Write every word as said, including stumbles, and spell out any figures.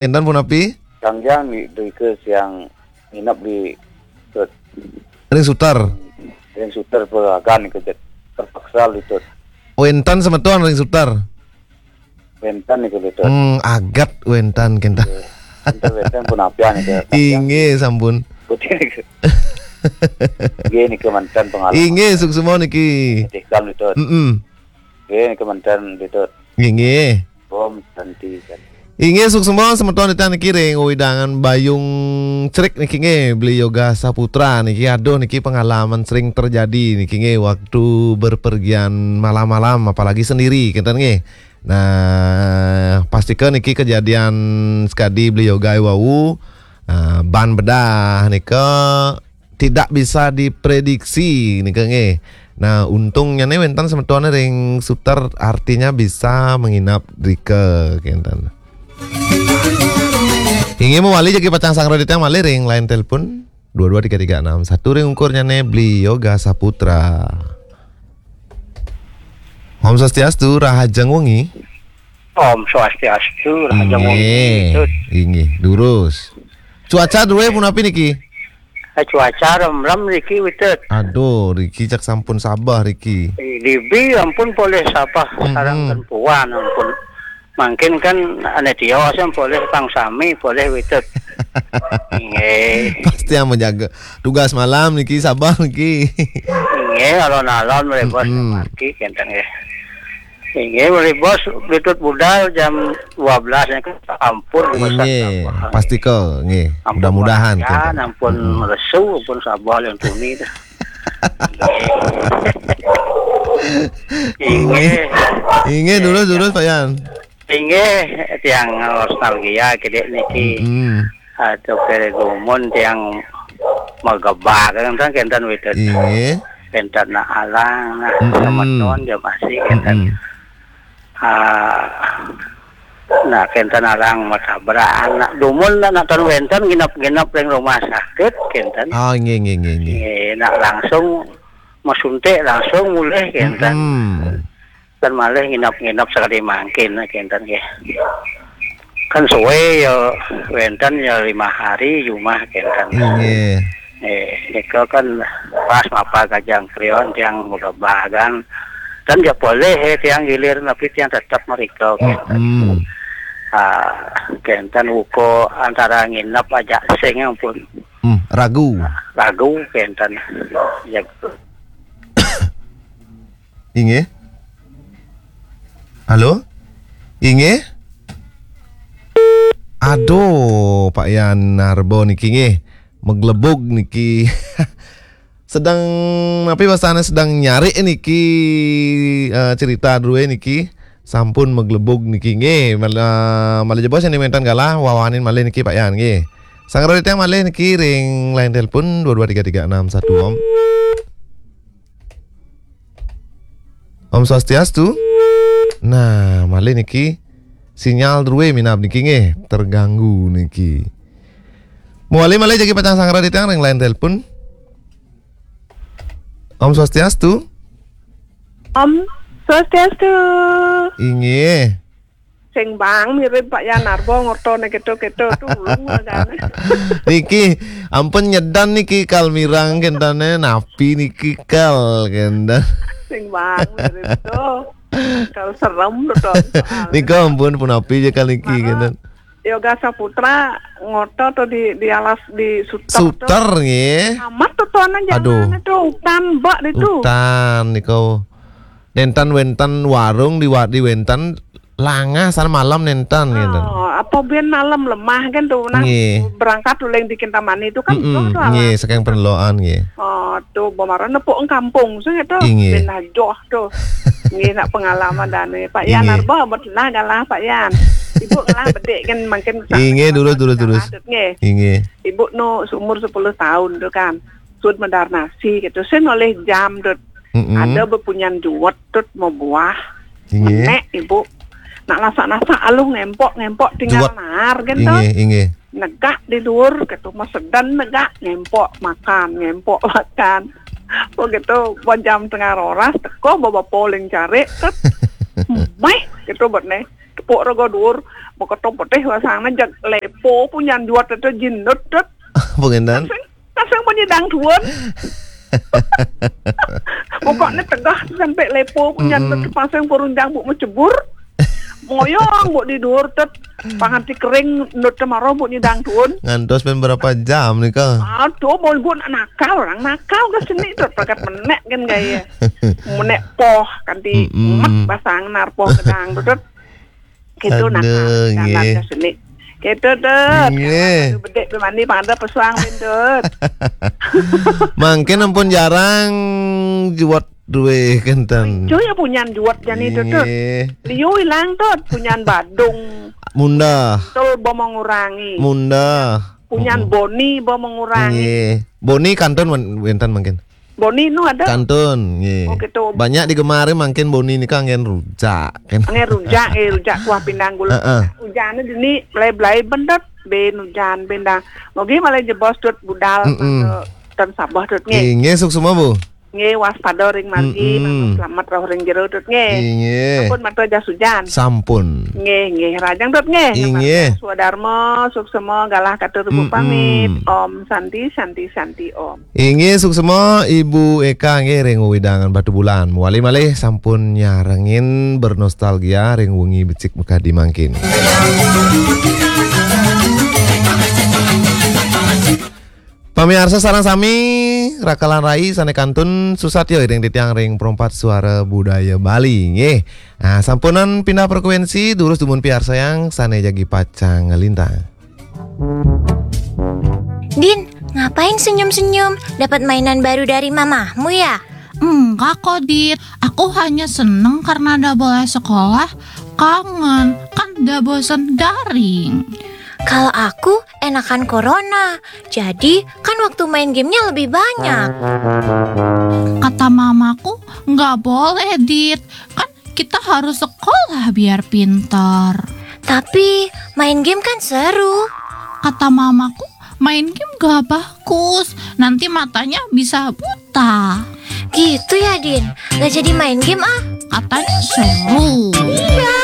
Kénten punapi? Sangjang di, di ke siang nginep di Tut. Ring suter. Ring suter peragan ke jet. Terpaksa di Tut. Wénten semeton ring suter. Wénten niku di Tut. Hmm, aget wénten kénten. Wénten, wénten punapian niku. Inggih, sampun. Putih niku. Inggih niku manten pengalaman. Inggih, suksma niki. Tikam di Tut. Mm-mm. Inggih niku manten di Tut. Inggih. Om Santi, Santi. Inggih, suksma semeton titiang niki ring wewidangan Bayung Cerik niki nggih, Beli Yoga Saputra niki. Aduh, niki pengalaman sering terjadi niki nggih, waktu berpergian malam-malam, apalagi sendiri, kénten nggih. Nah, pastika niki kejadian sekadi Beli Yoga wau, ah, ban bedah nika tidak bisa diprediksi nika nggih. Nah, untungnya nih wénten semetoné ring suter, artinya bisa menginap rika kénten. Inggih, mawali jagi pacang sanggra titiang malih ring line telepon dua dua tiga tiga enam satu ring ungkurnyané Beli Yoga Saputra. Om Swastiastu, rahajeng wengi. Om Swastiastu, rahajeng wengi. Inggih, Tut. Inggih, durus. Cuaca drué punapi niki? Eh, cuaca remrem niki, Witut. Aduh, riki cak sampun sabeh riki. Dibi ampun polih sabeh, mm-mm, sareng tempuan ampun. Mangkin kan ané tios polih pang sami, polih Witut. Inggih. Pasti yang menjaga. Tugas malam niki, sabeh niki. Inggih, alon-alon malih bos, mm-mm, margi kénten nggih. Inggih, malih bos, Witut budal jam dua belas niku ampun, inggih, sabeh. Pastika nggih. Ampun, mudah-mudahan, ya, kénten. Ampun, mm-mm, lesu, ampun sabeh yang tuni dah. Inggih. Inggih, durus, durus, Pak Yan. Inggih, tiang nostalgia kidik niki. Mm-mm. Aduh, kere gumun tiang magebagan kan kénten Witut. Inggih. Kénten nak alang, nah, mm-mm, semeton ja masih kénten. Mm-mm. Ah, nah, kénten alang matabraan. Nah, dumun nak, nak ten wénten nginep-nginep ring rumah sakit kénten. Ah, inggih, inggih, inggih, inggih. Inggih, nak langsung masuntik langsung mulih kénten. Mm-mm. Kan malih nginep-nginep sekali mangkin, kénten nggih. Kan suwé ya, wénten ya lima hari jumah kénten. Inggih. Eh, nika kan pas mapa Gajah Krion tiang magebagan. Dan ya boleh, eh, tiang gilir, tapi tiang tetep mrika, kénten. Mm-mm. Ah, kénten uga antara nginep ajak sing ampun. Hmm, ragu. Ragu kénten. Ya. Inggih. Halo? Inggih? Aduh, Pak Yan Narba niki nggih. Maglebug niki. Sedang, napi basané, sedang nyari niki, eh, cerita drué niki. Sampun maglebug niki nggih. Mal-, eh, malih jebos yang dimintan galah, wawanin malih niki Pak Yan nggih. Sanggra titiang malih niki ring line telepon dua dua tiga tiga enam satu, Om. Om Swastiastu. Nah, malih niki sinyal drué minab niki nggih, terganggu niki. Mawali malih jagi pacang sanggra titiang ring line telepon. Om Swastiastu. Om Swastiastu. Inggih. Sing bang mirip Pak Yan Narba ngortané kéto-kéto, tulung kan. Niki ampun nyedan niki kal mireng kéntené, napi niki kal kénten. Sing bang mirip to. Kal serem to, soalnya. Nika ampun punapi ja kal niki, mara, kénten. Yoga Saputra ngorta to di, di alas, di suter to. Suter nggih. Amat to, to anan. Aduh. Jamané to utan, Mbak, itu. Utan nika. Nénten wénten warung di wa-, di wénten, langah sareng malem nénten, ngénten. Oh, apa biyen malem lemah kan to, nah, nggih, berangkat uling di Kintamani itu kan, mm-mm, to, to nggih, alas. Saking Peneloan nggih. Oh, to, bamara nepuk ing kampung sing to. Inggih. Ben ajoh to. Nggih, nak pengalaman dané. Pak Yan, inggih, Narba, bet nah galah Pak Yan. Ibu ngelah bedik kan mangkin. Inggih, durus, durus, durus. Nggih. Inggih. Ibu nu seumur sepuluh tahun to kan. Sud medar nasi gitu. Sing oleh jam to. Mm-mm. Ada bepunyan juwet to mabuah. Inggih. Menék, Ibu. Nak lasak-lasak aluh ngempok, ngempok tinggal juwet. Naar kan to. Inggih, inggih. Negak di luar gitu, masedan negak, ngempok makan, ngempok makan. Begitu, ba jam tengah roras, teko bapa uling cari, tet. Meh, gitu buat nih. tepuk rogo dhuwur, moko to petih wasangna jeg lepo punyan juat tetu jinut tut. Apa ngenten? Sing, sing penyidang duun. Pokoknya tegah sampai lepo punyan tut pasang purun jang bu mecebur. Moyong bu di dhuwur tut. Panganti kering nut temaro bu nyidang duun. Ngantos pen berapa jam nih, Kak? Aduh, mau bu nakal, orang nakal ke sini tut, pakat menek kan gaya. Menek poh, kanti mat basang nar poh gedang tut. Gitu nakal, aduh, jalan nggih. Ke sini. Gitu tut. Nggih. Aduh, bedek be mandi, pangada pesuang ben tut. Mangkin ampun jarang juat duwe kenten. Cuy, ya punyan juat jani tut, tut. Nggih. Liu ilang tut, punyan Badung. Munda. Tul bomo ngurangi. Munda. Punyan Boni bomo ngurangi. Nggih. Boni kantun wen-, wenten mangkin. Boni nu ada? Kantun, nggih. Oh, gitu. Banyak digemari mangkin Boni nika anggen rujak. Anggen rujak, eh, rujak kuah pindang gula. Heeh. Ujane dini belai-belai ben tut, ben ujan, ben dang. Mogi malah jebos tut budal, ten sabah tut, nggih. Nggih, suksma, Bu. Nggih, waspada ring margi, mangga selamat rauh ring jero tut, nggih. Nggih. Sampun mata jas ujan. Sampun. Nggih, nggih, rajang tut, nggih. Nggih. Swadarma, suksma, galah katur Bu pamit. Om Santi, Santi, Santi, Om. Inggih, suksma Ibu Eka nggih ring wewidangan Batubulan. Mawali malih sampun nyarengin bernostalgia ring wengi becik makadi mangkin. Pamiarsa sareng sami, rakalan rai sane kantun susatya iring titiang ring Perempat Suara Budaya Bali nggih. Nah, sampunang pindah frekuensi, durus dumun piarsayang sane jagi pacang nglintang. Din, ngapain senyum-senyum? Dapat mainan baru dari mamahmu ya? Enggak kok, Dit. Aku hanya seneng karena ada boleh sekolah. Kangen, kan udah bosen daring. Kalau aku enakan corona. Jadi, kan waktu main gamenya lebih banyak. Kata mamaku, nggak boleh, Dit. Kan kita harus sekolah biar pintar. Tapi, main game kan seru. Kata mamaku, main game gak bagus. Nanti matanya bisa buta. Gitu ya, Din? Gak jadi main game ah. Katanya seru. Iya.